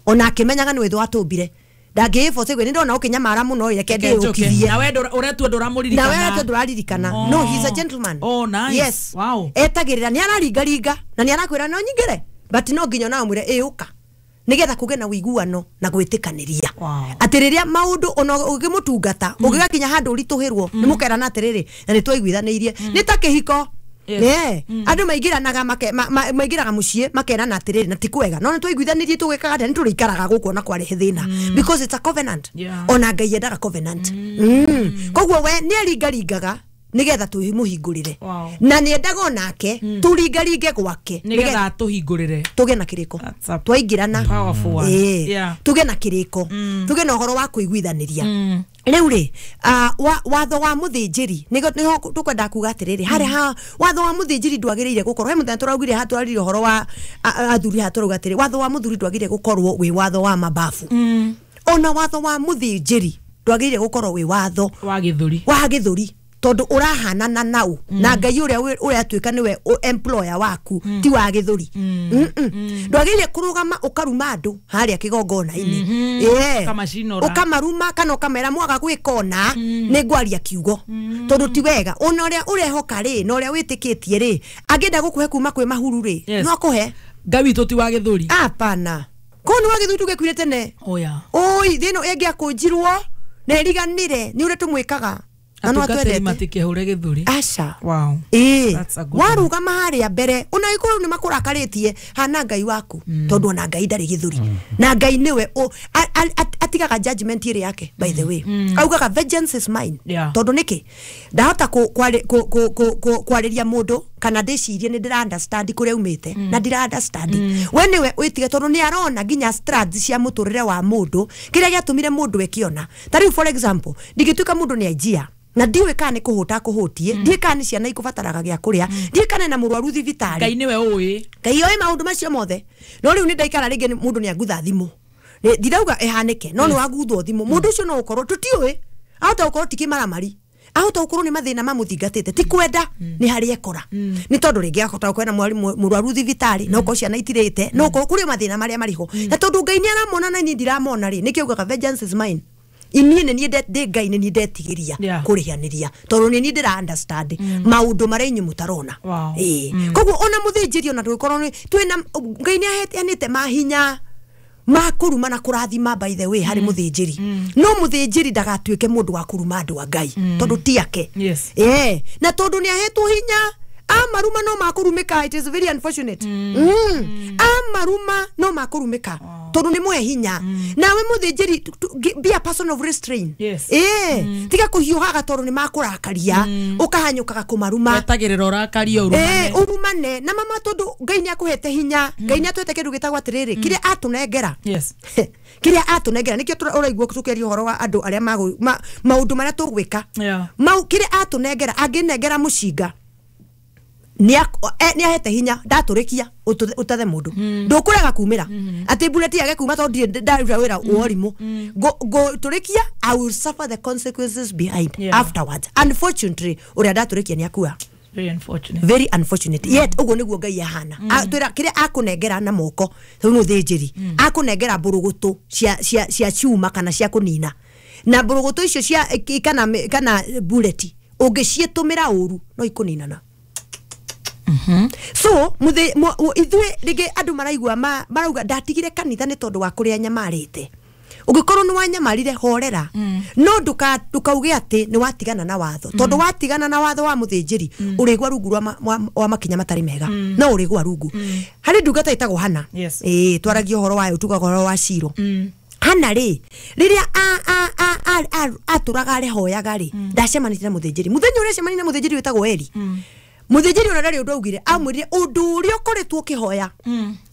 [SPEAKER 5] Ona akĩmenyaga nĩ wetho atũmbire. Ndangĩĩboce gwĩ nĩ ndona ũkĩnyamara mũno reke ndĩũkithie.
[SPEAKER 2] Na we ũretua ndũramũririkana.
[SPEAKER 5] Na we ũretua ndũraririkana.
[SPEAKER 2] Oh.
[SPEAKER 5] No, he's a gentleman.
[SPEAKER 2] Oh, nice.
[SPEAKER 5] Yes.
[SPEAKER 2] Wow.
[SPEAKER 5] Etagĩrĩra nĩ araringaringa na nĩ arakwĩra no nyingĩre. But no nginya na ũmwĩre ĩũka. Nĩgetha kũgĩe na ũiguano na gwĩtĩkanĩria.
[SPEAKER 2] Wow.
[SPEAKER 5] Atĩ rĩrĩa maũndũ ona ũngĩmũtungata ũgĩgakinya handũ ũritũhĩrwo nĩ mũkerana atĩrĩrĩ na nĩ twaiguithanĩirie. Nĩ ta kĩhiko.
[SPEAKER 2] Yes.
[SPEAKER 5] Andũ maingĩranaga maingĩraga mũciĩ makerana atĩrĩrĩ na ti kwega no nĩ twaiguithanirie tũgĩkaga atĩa nĩ tũrĩikaraga gũkũ ona kwarehe thĩna because it's a covenant.
[SPEAKER 2] Yeah.
[SPEAKER 5] Ona Ngai endaga covenant. Koguo we nĩ aringaringaga nĩgetha tũmũhingũrĩre.
[SPEAKER 2] Wow.
[SPEAKER 5] Na nĩ endaga onake tũringaringe gwake
[SPEAKER 2] nĩgetha atũhingũrĩre
[SPEAKER 5] tũgĩe na kĩrĩko twaingĩrana
[SPEAKER 2] powerful one. Yeah.
[SPEAKER 5] Tũgĩe na kĩrĩko tũgĩe na ũhoro wa kũiguithanĩria. Rĩu rĩ watho wa mũthĩnjĩri nĩho tũkwenda kuga atĩrĩrĩ harĩ ha watho wa mũthĩnjĩri ndwagĩrĩire gũkorwo he mũthenya tũraugire ha tũraririe ũhoro wa athuri ha tũrauga atĩrĩ watho wa mũthuri ndwagĩrĩire gũkorwo wĩ watho wa mababu. Ona watho wa mũthĩnjĩri ndwagĩrĩire gũkorwo wĩ watho
[SPEAKER 2] wa gĩthũri
[SPEAKER 5] wa gĩthũri tondu urahanana nau na Ngai uria uratuika niwe employer waku ti wa githuri. Ndwagĩrĩire kũrũgama ũkaruma andũ harĩa kĩgongona-inĩ. Ũkamaruma kana ũkamera mwaga gwĩka ona nĩ ngwaria kiugo tondu ti wega. Ona ũrĩa ũrehoka rĩ na ũrĩa wĩtĩkĩtie rĩ angĩenda gũkũhe kuma kwĩ mahuru rĩ no akũhe.
[SPEAKER 2] Ngai witũ ti wa gĩthũri.
[SPEAKER 5] Hapana. Kũu nĩ wa gĩthũri tũgĩkuire tene.
[SPEAKER 2] Oya.
[SPEAKER 5] Oi thĩ ĩno ĩngĩakũnjirwo na ĩriganĩre nĩ ũrĩa tũmwĩkaga.
[SPEAKER 2] Atungatĩri matikĩhũre gĩthũri.
[SPEAKER 5] Aca.
[SPEAKER 2] Wow.
[SPEAKER 5] Warũgama harĩa mbere ona gĩkorwo nĩ makũrakarĩtie hana Ngai waku tondu ona Ngai ndarĩ gĩthũri. Na Ngai nĩwe atigaga judgment ĩrĩ yake by the way. Augaga vengeance is mine. Tondu nĩkĩ ndahota kwarĩria mũndũ kana ndĩcirie nĩ ndĩra understand kũrĩa umĩte na ndira understand. We nĩwe wĩtige tondu nĩ arona nginya strands cia mũtũrĩre wa mũndũ kĩrĩa gĩatũmire mũndũ ekiona. Ta rĩu for example ndingĩtuĩka mũndũ nĩ anjia na ndiũĩ kana nĩ kũhũta kũhũtie ndiũĩ kana nĩ ciana ikũbataraga gĩa kũrĩa ndiũĩ kana na mũrwaru thibitarĩ.
[SPEAKER 2] Ngai nĩwe ũĩ.
[SPEAKER 5] Ngai oĩ maũndũ macio mothe. No rĩu nĩ ndaikara rĩngĩ mũndũ nĩ angutha thimũ. Ndirauga ĩhanĩke no nĩ waguthwo thimũ mũndũ ũcio no ũkorwo tũtiũĩ ahota gũkorwo ti kĩmaramari ahota gũkorwo nĩ mathĩna mamũthingatĩte ti kwenda nĩ harĩa ekora nĩ tondũ rĩngĩ ahota gũkorwo na mũrwaru thibitarĩ no ũkorwo ciana itirĩte no ũkorwo kũrĩ mathĩna marĩa marĩho na tondũ Ngai nĩ aramona na niĩ ndiramona rĩ nĩkĩo augaga vengeance is mine. Inie nĩ niĩ ndĩ Ngai nĩ niĩ ndetigĩria kũrĩhanĩria tondũ nĩ niĩ ndĩra understand maũndũ marĩa inyuĩ mũtarona. Koguo ona mũthĩnjĩri ona tũgĩkorwo twĩna Ngai nĩ aheanĩte mahinya ma kũruma na kũrathima by the way harĩ mũthĩnjĩri. No mũthĩnjĩri ndagatuĩke mũndũ wa kũruma andũ a Ngai tondũ ti ake. Na tondũ nĩ ahetwo hinya amaruma no makũrumĩka. It is very unfortunate. Amaruma no makũrumĩka tondu nĩ mwe hinya. Nawe mũthĩnjĩri be a person of restraint. Tiga kũhiũhaga tondu nĩ makũrakaria ũkahanyũkaga kũmaruma
[SPEAKER 2] wetagĩrĩra ũrakario ũrumane
[SPEAKER 5] ũrumane na mama tondu Ngai nĩ akũhete hinya. Ngai nĩ atũhete kĩndũ gĩtagwo atĩrĩrĩ kĩrĩa atũnengera.
[SPEAKER 2] Yes.
[SPEAKER 5] Kĩrĩa atũnengera nĩkĩo ũraigua tũkĩaria ũhoro wa andũ arĩa maũndũ marĩa tũgwĩka. Mau kĩrĩa atũnengera angĩnengera mũcinga nĩ ahete hinya ndatũrĩkia ũtathe mũndũ ndũkũrega kumĩra atĩ bullet yage kuma tondũ ndirĩ ndaruta wĩra wa ũrimũ ngũtũrĩkia I will suffer the consequences behind afterwards. Unfortunately ũrĩa ndatũrĩkia nĩ akua.
[SPEAKER 2] Very unfortunate.
[SPEAKER 5] Very unfortunate. Yet ũguo nĩguo Ngai ahana. Twĩra kĩrĩa akũnengera na moko rĩu mũthĩnjĩri akũnengera mbũrũgũtũ cia cuma kana cia kũnina na mbũrũgũtũ icio cia kana bullet ũngĩciĩtũmĩra ũru no ikũninana. So ithuĩ rĩngĩ andũ maraigua marauga ndatigire kanitha nĩ tondũ wa kũrĩa nyama arĩte. Ũngĩkorwo nĩ wanyamarire horera no ndukauge atĩ nĩ watigana na watho tondũ watigana na watho wa mũthĩnjĩri ũrĩgwa rungu wa makinya matarĩ mega no ũrĩgwa rungu. Harĩ ndungata ĩtagwo Hana. Twaragia ũhoro wayo tugaga ũhoro wa Shilo. Hana rĩ rĩrĩa atũraga arehoyaga rĩ ndacemanĩtie na mũthĩnjĩri. Mũthenya ũrĩa acemanirie na mũthĩnjĩri wĩtagwo Eli. Mũthĩnjĩri ona ndarĩ ũndũ augire, amwĩrire ũndũ ũrĩa ũkoretwo ũkĩhoya.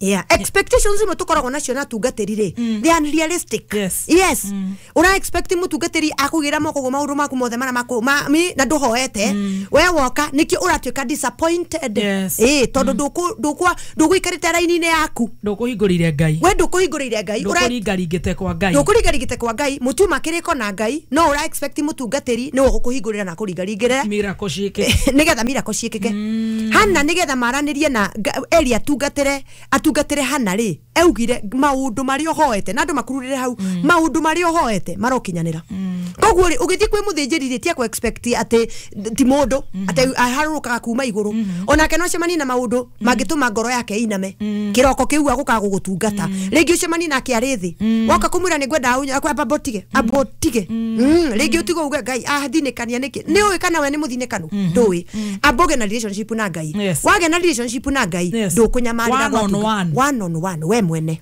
[SPEAKER 5] Yeah, expectations imwe tũkoragwo nacio na atungatĩri rĩ, they are unrealistic. Yes. Ũra expect mũtungatĩri akũgĩra moko ũguo maũndũ maku mothe marĩa maku na ndũhoete. We woka nĩkĩo ũratuĩka disappointed. Tondũ ndũgũikarĩte raini-inĩ yaku.
[SPEAKER 2] Ndũkũhingũrĩire Ngai.
[SPEAKER 5] We ndũkũhingũrĩire Ngai.
[SPEAKER 2] Ndũkũringaringĩte kwa Ngai.
[SPEAKER 5] Ndũkũringaringĩte kwa Ngai. Mũtiuma kĩrĩko na Ngai no ũra expect mũtungatĩri nĩwe ũgũkũhingũrĩra na akũringaringĩre.
[SPEAKER 2] Miracle ciĩke.
[SPEAKER 5] Nĩgetha miracle ciĩkĩke. Hana nigetha maranĩrie na Eli atungatĩre Hana rĩ augire maũndũ marĩa ũhoete na andũ makururĩre hau maũndũ marĩa ũhoete marokinyanĩra. Koguo rĩ ũgĩthiĩ kwĩ mũthĩnjĩri rĩ tia kũ expect atĩ ti mũndũ atĩ aharũrũkaga kuma igũrũ. Onake no acemanie na maũndũ mangĩtũma ngoro yake iname kĩroko kĩu agũkaga gũgũtungata. Rĩngĩ ũcemanie nake arĩ thĩ woka kũmwĩra nĩ ngwenda ambotige rĩngĩ ũtige uge Ngai athinĩkania nĩkĩ nĩ ũĩ kana we nĩ mũthinĩkanu ndũĩ. Amboge na relationship na Ngai. Wage na relationship na Ngai ndũkũnyamarĩra one on one we mwene.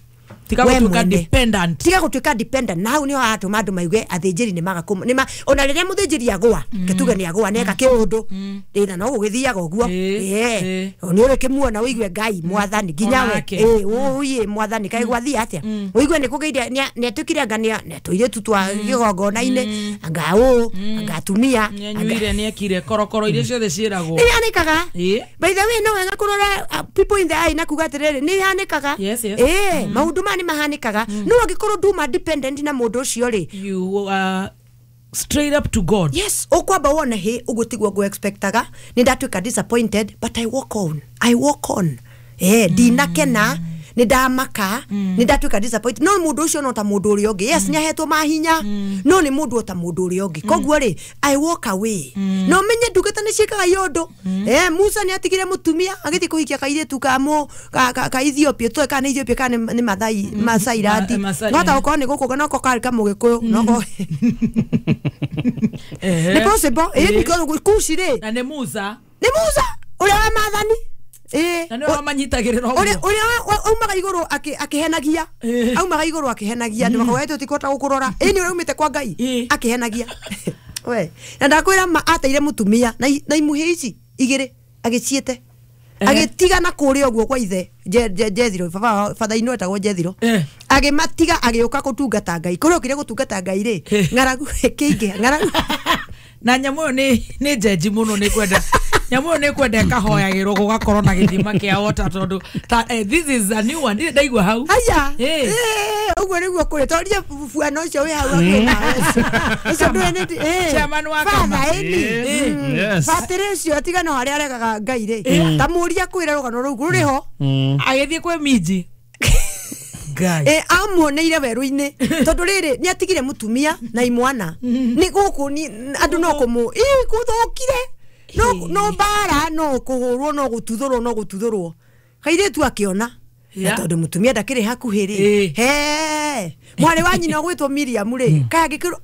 [SPEAKER 2] Tiga gũtuĩka dependent.
[SPEAKER 5] Tiga gũtuĩka dependent. Na hau nĩho haratũma andũ maigue athĩnjĩri nĩ maga nĩ ona rĩrĩa mũthĩnjĩri agũa ketuge nĩ agũa nĩ eka kĩũndũ thĩna no gũgĩthiaga ũguo. Nĩ ũrĩ kĩmuona ũigue Ngai mwathani nginya we ũiye mwathani kaĩ gwathiĩ atĩa ũigue nĩ kũgĩire nĩ atuĩkire anga nĩ tũirĩtu twa kĩgongona-inĩ anga ũũ anga atumia
[SPEAKER 2] nĩanyuire nĩekire korokoro iria ciothe ciĩragwo.
[SPEAKER 5] Nĩ ihanĩkaga. By the way no wega kũrora people in the eye na kuga atĩrĩrĩ nĩ ihanĩkaga. Maũndũ maya nĩ mahanĩkaga. No angĩkorwo nduma dependent na mũndũ ũcio rĩ,
[SPEAKER 2] you are straight up to God.
[SPEAKER 5] Yes, ũkwamba wone hĩ ũguo tiguo ngũ expectaga nĩ ndatuĩka disappointed but I walk on. I walk on. Ndinakena nĩ ndamaka nĩ ndatuĩka disappointed no mũndũ ũcio no ta mũndũ ũrĩa ũngĩ. Yes, nĩ ahetwo mahinya no nĩ mũndũ o ta mũndũ ũrĩa ũngĩ. Koguo rĩ I walk away. No menye ndungata nĩ ciĩkaga iũndũ. Musa nĩ atigire mũtumia agĩthiĩ kũhikia kairĩtu ka Ethiopia tũe kana Ethiopia kana nĩ Mathai Masai randi no ta gũkorwo nĩ gũkũ noko karĩ kamũgĩkũyũ noko nĩ possible because Kushi rĩ
[SPEAKER 2] na nĩ Musa
[SPEAKER 5] ũrĩa wa maathani.
[SPEAKER 2] Na nĩ wamanyitagĩrĩra ũguo
[SPEAKER 5] ũrĩa aumaga igũrũ akĩhenagia aumaga igũrũ akĩhenagia nĩ makoete ũtikũhota gũkũrora nĩ ũrĩa umĩte kwa Ngai akĩhenagia. We na ndakwĩra ateire mũtumia na imuhĩ ici igĩrĩ agĩciĩte agĩtiga na kũrĩa ũguo kwa ithe Jethiro baba father-in-law etagwo Jethiro agĩmatiga agĩũka gũtungata Ngai kũrĩa okire gũtungata Ngai rĩ ng'aragu ĩkĩingĩha ng'aragu
[SPEAKER 2] na nyamũ ĩyo nĩ njenji mũno nĩ kwenda nyamũ ĩyo nĩ kwenda ĩkahoyagĩrwo gũgakorwo na gĩthima kĩa water tondũ this is a new one ndaigua hau.
[SPEAKER 5] Haya ũguo nĩguo kũrĩ toria buano ũcio wĩ hau hakuhĩ nawe ũcio ndũĩ nĩ
[SPEAKER 2] chairman wa kama
[SPEAKER 5] batĩrĩ ũcio tiga no harĩa aregaga Ngai rĩ ta mũria kwĩra rũgano rũu rũrĩ ho
[SPEAKER 2] agĩthiĩ kwĩ minji Ngai
[SPEAKER 5] amuoneire werũ-inĩ tondũ rĩrĩ nĩ atigire mũtumia na imwana nĩ gũkũ andũ no kũmũ gũthũkire no mbara no kũhũrwo no gũtuthũrwo no gũtuthũrwo kairĩtu akĩona na tondũ mũtumia ndakĩrĩ hakuhĩ rĩ he mwarĩ wa nyina ũgwĩtwo Miriam rĩ kaĩ angĩkĩrwo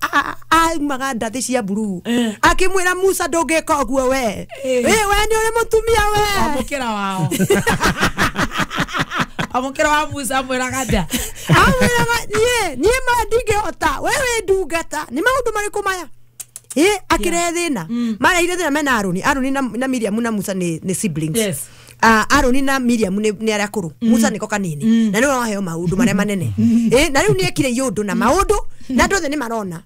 [SPEAKER 5] aumaga ndathĩ cia mburuu akĩmwĩra Musa ndũngĩka ũguo we we nĩ ũrĩ mũtumia we
[SPEAKER 2] amũkĩra wao amũkĩra wa Musa amwĩraga atĩa
[SPEAKER 5] amwĩraga niĩ ma ndingĩhota we wĩ ndungata nĩ maũndũ marĩkũ maya akĩrehe thĩna mareheire thĩna mena Aroni na Miriam na Musa nĩ siblings.
[SPEAKER 2] Yes.
[SPEAKER 5] Aroni na Miriam nĩ arĩa akũrũ Musa nĩko kanini na nĩwe waheo maũndũ marĩa manene na rĩu nĩekire iũndũ na maũndũ na andũ othe nĩ marona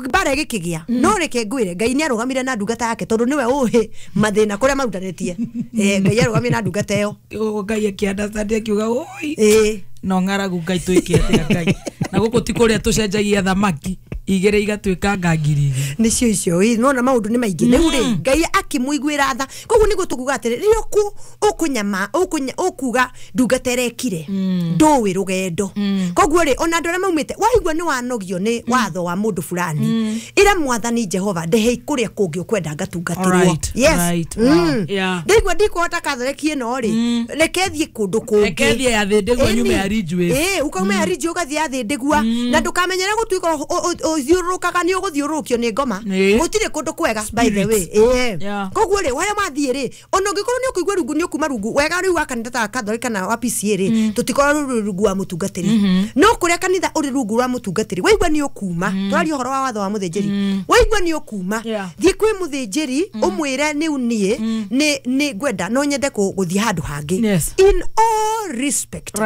[SPEAKER 5] mbara ĩgĩkĩgĩa no reke ngwĩre Ngai nĩ arũgamire na ndungata yake tondũ nĩwe ũĩ mathĩna kũrĩa marutanĩtie. Ngai arũgamire na ndungata ĩyo
[SPEAKER 2] Ngai akĩ-understand akiuga oi no ng'aragu Ngai twĩke atĩa Ngai na gũkũ ti kũrĩa tũcenjagia thamaki. Igĩrĩ igatuĩka nga 2,000.
[SPEAKER 5] Nĩcio icio ĩ nona maũndũ nĩ maingĩ rĩu rĩ Ngai akĩmũiguĩra tha. Koguo nĩguo tũkuga atĩrĩ rĩrĩa ũkũnyama ũkuga ndungata ĩrekire ndũĩ rũgendo. Koguo rĩ ona andũ arĩa maumĩte waigua nĩ wanogio nĩ watho wa mũndũ fulani ĩra mwathani Jehova ndehe kũrĩa kũngĩ ũkwenda ngatungatĩrwo. Yes. Ndaigua ndikũhota Catholic ĩno rĩ reke thiĩ kũndũ kũngĩ.
[SPEAKER 2] Reke thiĩ ya Thĩndĩgua nyume ya Ridgeway.
[SPEAKER 5] Ũkauma ya Ridgeway ũgathiĩ ya Thĩndĩgua na ndũkamenyere gũtuĩka ũthiũrũrũkaga nĩ ũgũthiũrũrũkio nĩ ngoma. Gũtirĩ kũndũ kwega by the way. Koguo rĩ harĩa mathiĩ rĩ ona ũngĩkorwo nĩ ũkũigua rungu nĩ ũkuma rungu wega rĩu wa kanitha ta Catholic kana wa PCA rĩ tũtikorwo rũrĩ rungu wa mũtungatĩri. No kũrĩa kanitha ũrĩ rungu rwa mũtungatĩri waigua nĩ ũkuma tũraria ũhoro wa watho wa mũthĩnjĩri waigua nĩ ũkuma thiĩ kwĩ mũthĩnjĩri ũmwĩre nĩu niĩ nĩ ngwenda no nyende gũthiĩ handũ hangĩ in all respect.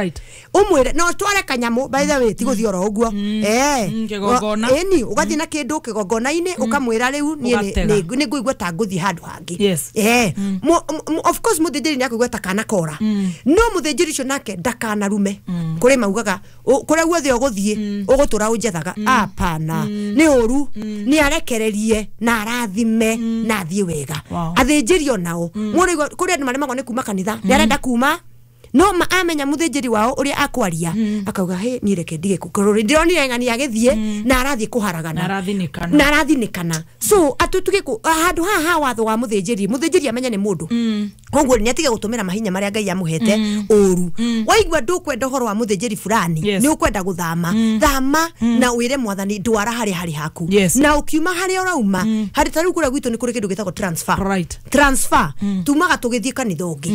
[SPEAKER 5] Ũmwĩre no tware kanyamũ by the way ti gũthiĩ oro ũguo
[SPEAKER 2] kĩgongona
[SPEAKER 5] ĩni ũgathiĩ na kĩndũ kĩgongona-inĩ ũkamwĩra rĩu niĩ nĩ ngũigua ta ngũthiĩ handũ hangĩ. Of course mũthĩnjĩri nĩ akũigua ta kana kora no mũthĩnjĩri ũcio nake ndakanarume kũrĩ maugaga kũrĩa guothe ũgũthiĩ ũgũtũra ũnjethaga apana nĩ ũru nĩ arekererie na arathime na athiĩ wega. Athĩnjĩri onao kũrĩ andũ maremagwo nĩ kuma kanitha nĩ arenda kuma no amenya mũthĩnjĩri wao ũrĩa akwaria akauga he niĩ reke ndige kũrũrĩ ndĩronire ng'ani agĩthiĩ na arathiĩ kũharagana na arathinĩkana. So atutuge handũ haha ha watho wa mũthĩnjĩri mũthĩnjĩri amenye nĩ mũndũ koguo nĩ atige gũtũmĩra mahinya marĩa Ngai amũhete ũru. Waigua ndũkwenda ũhoro wa mũthĩnjĩri fulani nĩ ũkwenda gũthama thama na wĩre mwathani ndwara harĩa harĩ haku na ũkiuma harĩa ũrauma harĩ ta rĩu kũrĩa gwitũ nĩ kũrĩ kĩndũ gĩtagwo transfer. Transfer tumaga tũgĩthiĩ kanitha ũngĩ.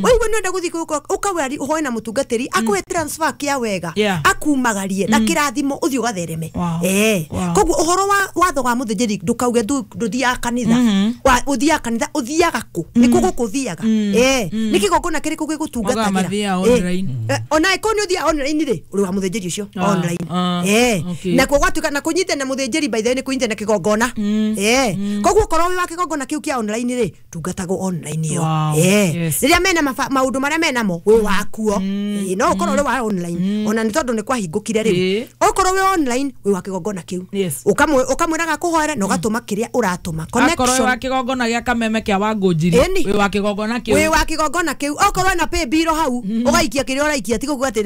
[SPEAKER 5] Waigua nĩ ũrenda gũthiĩ ũkawĩra ũhoe na mũtungatĩri akũhe transfer kĩa wega akumagarie na kĩrathimo ũthiĩ ũgathereme. Koguo ũhoro wa watho wa mũthĩnjĩri ndũkauge ndũthiaga kanitha ũthiaga kanitha ũthiaga kũ nĩkũ gũkũ ũthiaga nĩ kĩgongona kĩrĩkũ gĩgũtungatagĩra ona ĩkorwo nĩ ũthiaga online rĩ ũrĩ wa mũthĩnjĩri ũcio online nakuo gwatuĩka na kũnyitana na mũthĩnjĩri by the way nĩ kũnyitana na kĩgongona. Koguo okorwo wĩ wa kĩgongona kĩu kĩa online rĩ tungatagwo online ĩyo. Rĩrĩa mena maũndũ marĩa menamo wĩ wakuo no ũkorwo ũrĩ wa online ona nĩ tondũ nĩ kwahingũkire rĩu okorwo wĩ online wĩ wa kĩgongona kĩu ũkamwĩraga kũhoera na ũgatũma kĩrĩa ũratũma
[SPEAKER 2] connection. Akorwo wa kĩgongona gĩa Kameme kĩa Wangũnjiri wĩ wa kĩgongona kĩu
[SPEAKER 5] wĩ wa kĩgongona kĩu okorwo na pay bill hau ũgaikia kĩrĩa ũraikia ti gũkuga atĩ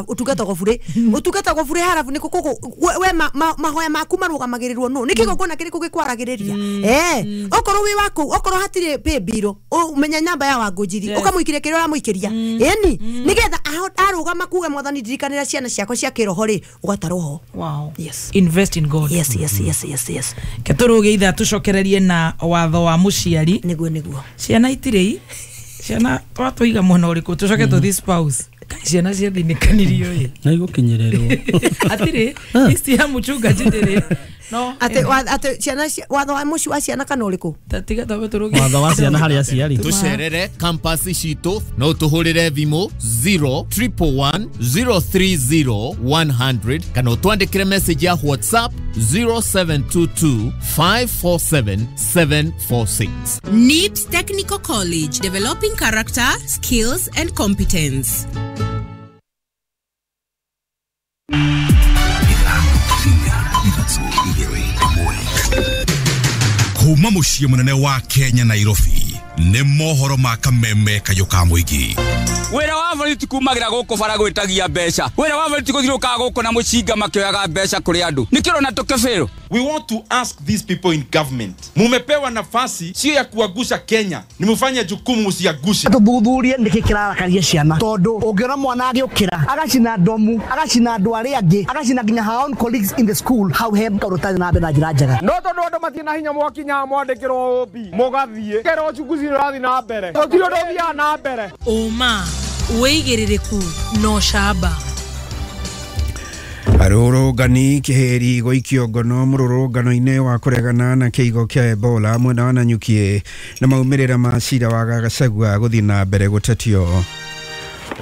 [SPEAKER 5] ũtungatagwo burĩ ũtungatagwo burĩ harabu nĩ kũkũ we mahoya maku marũgamagĩrĩrwo nũ nĩ kĩgongona kĩrĩkũ gĩkwaragĩrĩria. Okorwo wĩ wa kũu okorwo hatirĩ pay bill ũmenya namba ya Wangũnjiri ũkamũikĩria kĩrĩa ũramũikĩria ĩni nĩgetha arũgama kuga mwathani ndirikanĩra ciana ciakwa cia kĩroho rĩ ũgatarwo ho.
[SPEAKER 2] Wow.
[SPEAKER 5] Yes.
[SPEAKER 2] Invest in God.
[SPEAKER 5] Yes, yes, yes, yes, yes.
[SPEAKER 2] Ketũrũge ithaa tũcokererie na watho wa mũciari
[SPEAKER 5] nĩguo nĩguo
[SPEAKER 2] ciana itirĩ ciana twatũiga mwena ũrĩkũ tũcoke tũthiĩ spouse ciana ciathinĩkanirio ĩ
[SPEAKER 3] na igũkinyĩrĩrwo
[SPEAKER 2] atirĩ ici ya mũchunga njĩndĩrĩ no
[SPEAKER 5] ate ate ciana watho wa mũciĩ wa ciana kana ũrĩkũ
[SPEAKER 2] tiga twambe tũrũge
[SPEAKER 3] watho wa ciana harĩ aciari
[SPEAKER 1] tũcerere campus citũ no tũhũrĩre thimũ 0 111 030 100 kana ũtwandĩkĩre message ya WhatsApp 0722 547 746.
[SPEAKER 6] NIBS Technical College, developing character, skills and competence.
[SPEAKER 7] Kuma muciĩ mũnene wa Kenya Nairobi nĩ mohoro ma Kameme kayũ ka mũingĩ.
[SPEAKER 8] Wĩra wa borithi kumagira gũkũ bara gwĩtagia mbeca. Wĩra wa borithi gũthiũrũrũkaga gũkũ na mũcinga makĩoyaga mbeca kũrĩ andũ. Nĩkĩo ũrona tũkĩbĩrwo.
[SPEAKER 9] We want to ask these people in government. Mumepewa nafasi sio ya kuagusha Kenya, ni mufanye jukumu msiagushe.
[SPEAKER 10] Tuthuthurie niki kirarakaria ciana tondu ungiona mwana agiukira agacina ndomu agacina andu aria angi agacina nginya her own colleagues in the school hau he kaundu tari na mbere na njira njega.
[SPEAKER 11] No tondu andu matirĩ na hinya mwakinya mwandĩkĩrwo OB mũgathiĩ kero uchunguzi nĩ ũrathiĩ na mbere gũtirĩ ũndũ ũthiaga na mbere.
[SPEAKER 2] Ũma wĩigĩrĩrĩku no camba.
[SPEAKER 12] Arũrũngani kĩhĩri gũikio ngono mũrũrũngano-inĩ wa kũregana na kĩigo kĩa Ebola mwena wa Nanyuki na maumĩrĩra ma cira wa Gachagua gũthiĩ na mbere gũtetio.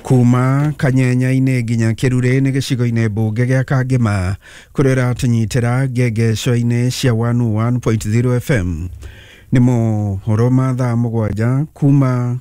[SPEAKER 12] Kuma Kanyenya-inĩ nginya Kĩrure nĩ gĩcigo-inĩ mbunge gĩa Kangema kũrĩa ũratũnyitĩra ngengeco-inĩ cia 101.0 FM. Nĩ mohoro ma thaa 7 kuma